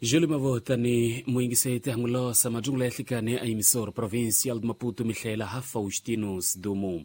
Júlio Mavotani muyingiseti hangulosa majungula ya hlikani a emissora provincial de Maputo mihlela ha Faustino Sidumo.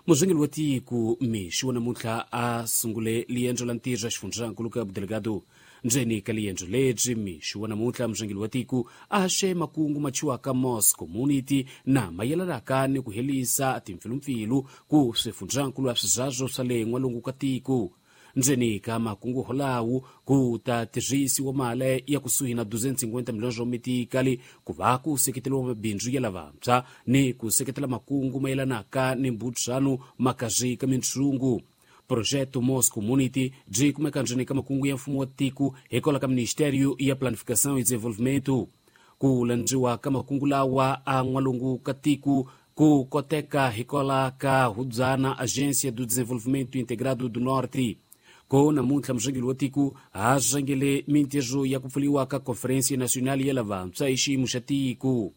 Muzwengeli wa tiko mixi wa namuntlha a sungule liendzo la ntirho exifundzankulu ka Delgado. Ndzeni ka liendzo lebyi mixi wa namuntlha muzwengeli wa tiko a haxe makungu machiwaka Mos Community na mayelanaka ni ku herisa timpfilumpfilu ku swifundzankulu a swizazo swa le n'walungu ka tiko. Ndzeni ka makungu holawu ku ta tirhisiwa mali ya kusuhi na 250 milhões mitikali ku va ku seketeriwa mabindzu ya lavantshwa ni ku seketela makungu mayelanaka ni mbudzano makazi ka mintshungu. Projeto Mos Community byi kumeka ndzeni ka makungu ya mfumo wa tiko hikwalaho ka Ministério ya Planificação e Desenvolvimento. Ku landziwa ka makungu lawa a n'walungu ka tiko ku koteka hikwalaho ka hubyana Agência do Desenvolvimento Integrado do Norte. Ko namuntlha muzwengeli wa tiko ha zwengele mintirho ya ku pfuriwa ka Conferência Nacional ya lavantshwa hi xiyimo xa tiko.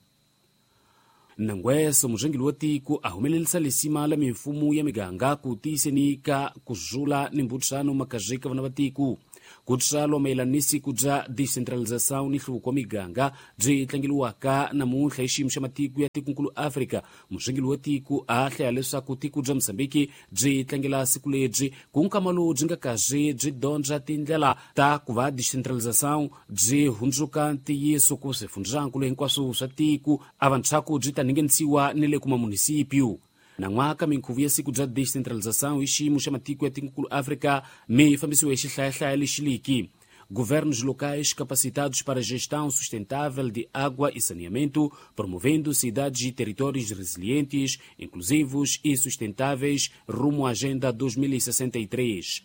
Nangweso muzwengeli wa tiko a humelerisa lisima la mimfumo ya miganga ku tiyiseni ka ku zula ni mbudzano makazi ka vana va tiko. Ku tswalwa mayelana ni siku bya decentralização ni nhluvuko wa miganga byi tlangeliwaka namuntlha hi xiyimo xa matiko ya tikonkulu Afrika. Muzwengeli wa tiko a hlaya leswaku tiko bya Mozambiki byi tlangela siku lebyi ku nkama lowu byi nga kazi byi dyondza tindlela ta ku va decentralização byi hundzuka ntiyiso ku swifundzankulu hinkwaswo swa tiko a vantshwaku byi ta ningenisiwa ni le kuma munisipyu. Nan'waka minkhuvo ya siku bya decentralização hi xiyimo xa matiko ya tikonkulu Afrika mi fambisiwe hi xihlayahlaya lexiliki. Governos locais capacitados para gestão sustentável de água e saneamento, promovendo cidades e territórios resilientes, inclusivos e sustentáveis rumo à Agenda 2063.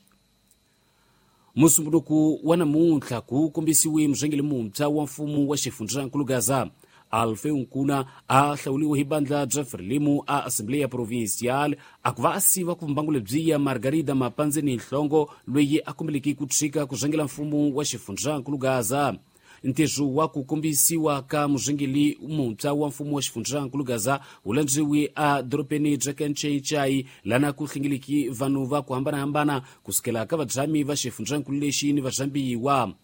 Musumbunuku wa namuntlha ku kombisiwe muzwengeli muntshwa wa mfumo wa xifundzankulu Gaza. Alfeu Nkuna a hlawuriwe hi bandla bya Frelimo a Assembleia Provincial a ku va a siva ku mbangu lebyiya Margarida Mapandzeni Nhlongo loyi a kombeleke ku tshika ku zwengela mfumo wa xifundzankulu Gaza. Ntirho wa ku kombisiwa ka muzwengeli muntshwa wa mfumo wa xifundzankulu Gaza wu landziwe a dorobeni bya Kanchenchai lana ku hlengeleki vanhu va ku hambanahambana kusukela ka vadzhami va xifundzankulu lexi ni vazambiwa.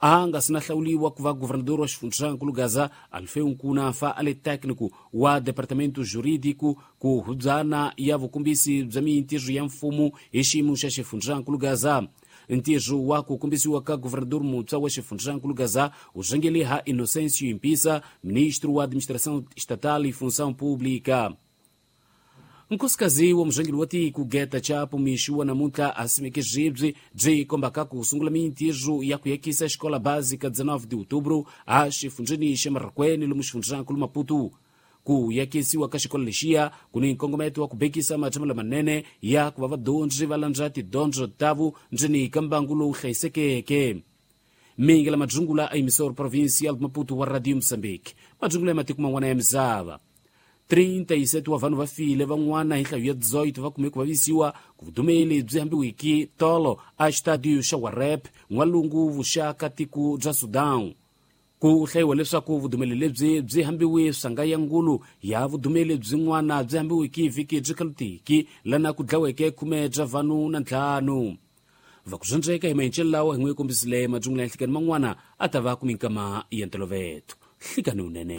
A nga si na hlawuliwa ku va governador wa xifundzankulu Gaza, Alfeu Nkuna fa a le técnico wa departamento jurídico ku hubyana ya vukombisi bya mintirho ya mfumo hi xiyimo xa xifundzankulu Gaza. Ntirho wa ku kombisiwa ka governador muntshwa wa xifundzankulu Gaza wu zwengele ha Inocêncio Impisa, ministro wa administração estatal e função pública. Nkosikazi wa muzwengeli wa tiko Geta Chapo mixi wa namuntlha a simeke byi byi kombaka ku sungula mintirho ya ku yakisa xikola básica 19 de outubro a xifundzeni xa Marracuene lomu xifundzankulu Maputo. Ku yakisiwa ka xikolo lexiya ku ni nkongometo wa ku bekisa matshamo lamanene ya ku va vadyondzi va landza tidyondzo tavo ndzeni ka mbangu lowu hlayisekeke. Mingi la madzungula a emissora provincial de Maputo wa Radio Moçambique. Madzungula ya matiko man'wana ya misava. 37 wa vanhu va file van'wana hi nhlayo ya 18 va kume ku vavisiwa ku vudumeli byi hambiwiki tolo a xitadiyo xa Warep n'walungu vuxaka tiko bya Sudan. Ku hlayiwa leswaku vudumeli lebyi byi hambiwe swanga ya ngulu ya vudumeli byin'wana byi hambiwiki vhiki byi khalutiki lana ku dlaweke 10 bya vanhu na 5. Va ku zwandzeka hi mahencelo lawa hi n'wi kombisile madzungula ya nhlikani man'wana a ta va ku minkama ya ntolovelo. Hlikani unene.